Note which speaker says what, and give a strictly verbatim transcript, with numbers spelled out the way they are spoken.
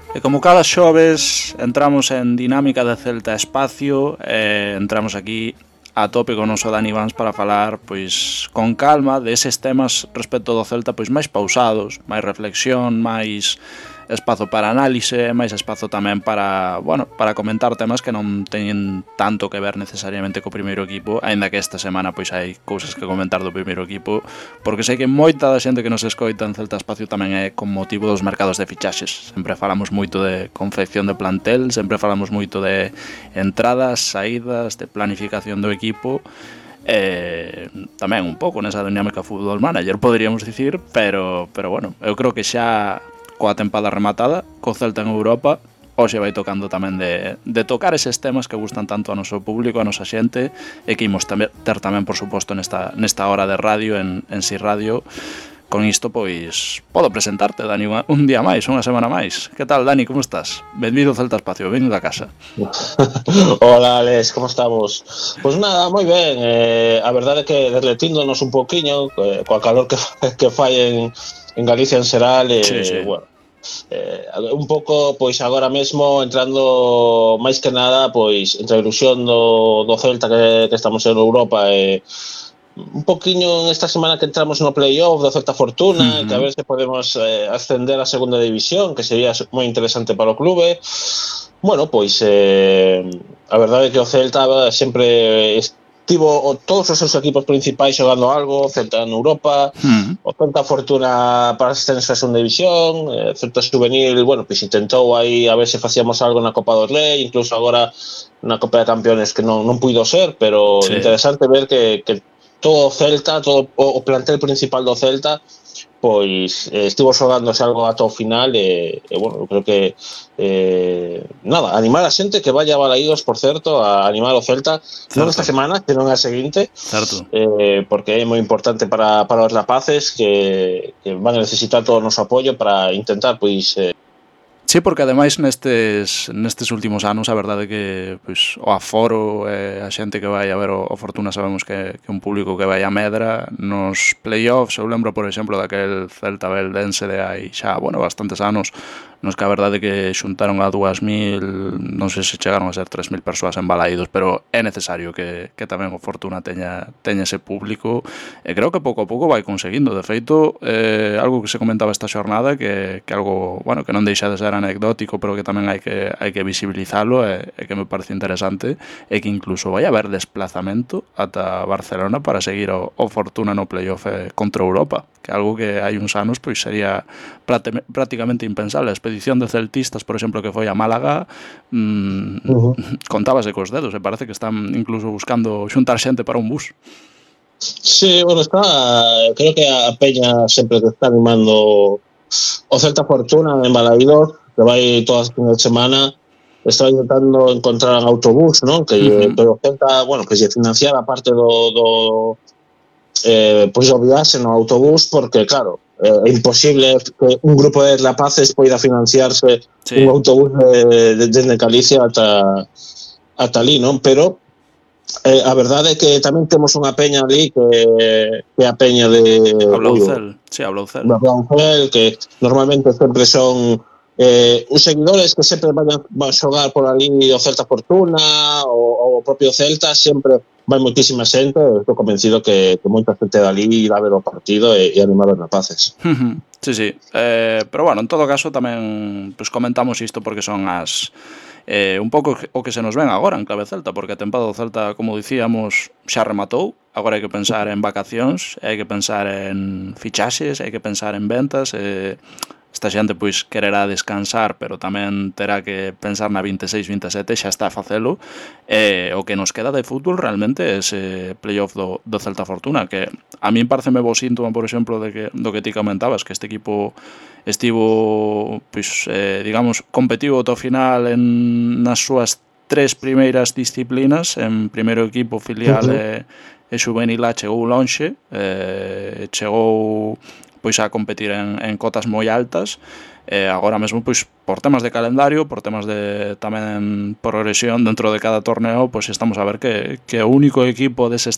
Speaker 1: E como cada xoves entramos en dinámica de Celta Espacio, eh, entramos aquí a tope con o noso Dani Vans para falar pois con calma deses temas respecto do Celta pois máis pausados, máis reflexión, máis espazo para análise, máis espazo tamén para, bueno, para comentar temas que non teñen tanto que ver necesariamente co primeiro equipo, aínda que esta semana pois hai cousas que comentar do primeiro equipo, porque sei que moita da xente que nos escoita en Celta Espacio tamén é con motivo dos mercados de fichaxes. Sempre falamos moito de confección de plantel, sempre falamos moito de entradas, saídas, de planificación do equipo, eh, tamén un pouco nesa dinámica Football Manager, poderíamos dicir, pero, pero bueno, eu creo que xa coa tempada rematada, co Celta en Europa, hoxe vai tocando tamén de, de tocar eses temas que gustan tanto a noso público, a nosa xente, e que imos ter tamén, por suposto, nesta, nesta hora de radio, en, en Si Radio. Con isto, pois, podo presentarte, Dani, un día máis, unha semana máis. Que tal, Dani, como estás? Benvido ao Celta Espacio, vengo da casa.
Speaker 2: Hola, Alex, como estamos? Pois pues nada, moi ben. Eh, a verdade é que derretíndonos un poquinho, eh, coa calor que, que fai en, en Galicia en xeral, eh,
Speaker 1: sí, sí.
Speaker 2: bueno, eh, un pouco, pois agora mesmo, entrando máis que nada, pois, entre a ilusión do, do Celta que, que estamos en Europa e... Eh, un poquinho en esta semana que entramos no playoff do Celta Fortuna, uh-huh. que a ver se podemos eh, ascender a segunda división, que sería moi interesante para o clube. Bueno, pois eh, a verdade é que o Celta sempre estivo o, todos os seus equipos principais xogando algo, Celta en Europa, uh-huh. o Celta Fortuna para ascenso a segunda división, eh, Celta Juvenil, bueno, pois intentou aí a ver se facíamos algo na Copa do Rei, incluso agora na Copa de Campeones que non, non puido ser, pero sí. Interesante ver que, que todo o Celta, todo o plantel principal do Celta, pois eh, estivo xogándose algo ata o final e, e bueno, creo que eh, nada, animar a xente que vaya a Balaídos, por certo, a animar o Celta, certo. Non esta semana, senón a seguinte,
Speaker 1: certo.
Speaker 2: Eh, porque é moi importante para, para os rapaces que, que van a necesitar todo o noso apoio para intentar, pois... Eh,
Speaker 1: Sí, porque ademais nestes nestes últimos anos a verdade é que pois, o aforo e a xente que vai a ver o, o Fortuna sabemos que, que un público que vai a medra nos playoffs. Eu lembro, por exemplo, daquel Celta Beldense de hai xa, bueno, bastantes anos, nos que a verdade é que xuntaron a dúas mil, non sei se chegaron a ser tres mil persoas en Balaídos, pero é necesario que, que tamén o Fortuna teña, teña ese público, e creo que pouco a pouco vai conseguindo. De feito, eh, algo que se comentaba esta xornada, que, que algo, bueno, que non deixa de ser anecdótico, pero que tamén hai que hai que visibilizalo, e, e que me parece interesante, é que incluso vai haber desplazamento ata Barcelona para seguir o, o Fortuna no playoff contra Europa, que é algo que hai uns anos pois sería prácticamente impensable. A expedición de celtistas, por exemplo, que foi a Málaga, mmm, uh-huh. contábase cos dedos, e parece que están incluso buscando xuntar xente para un bus.
Speaker 2: Sí, bueno, está, creo que a Peña sempre que está animando o Celta Fortuna en Balaídos, que vai todas as fines de semana, está intentando encontrar un autobús, ¿no? Que uh-huh. pero Celta, bueno, que se financiara parte do, do eh, pois obviase no autobús, porque claro, é eh, imposible que un grupo de rapaces poida financiarse sí. un autobús de, de, de Galicia ata, ata ali, non? Pero eh, a verdade é que tamén temos unha peña ali que, que é a peña de
Speaker 1: Ablaucel, sí, Ablaucel.
Speaker 2: Ablaucel, que normalmente sempre son eh, os seguidores que sempre van a, van a xogar por ali o Celta Fortuna, o, o propio Celta, sempre vai moitísima xente, estou convencido que, que moita xente dali irá a ver o partido e, e animar os rapaces.
Speaker 1: Sí, sí, eh, pero bueno, en todo caso tamén pues, comentamos isto porque son as eh, un pouco o que se nos ven agora en clave Celta, porque a tempada do Celta, como dicíamos, xa rematou, agora hai que pensar en vacacións, hai que pensar en fichaxes, hai que pensar en ventas, e esta xente pois quererá descansar, pero tamén terá que pensar na vinte e seis vinte e sete, xa está a facelo. E o que nos queda de fútbol realmente é ese playoff do, do Celta Fortuna, que a min pareceme bo síntoma, por exemplo, de que, do que ti comentabas, que este equipo estivo, pois, eh, digamos, competivo ata o final en nas súas tres primeiras disciplinas, en primeiro equipo, filial uh-huh. e, e juvenil A chegou lonxe, eh, chegou pois a competir en, en cotas moi altas, e agora mesmo pois por temas de calendario, por temas de tamén progresión dentro de cada torneo, pois estamos a ver que, que o único equipo deses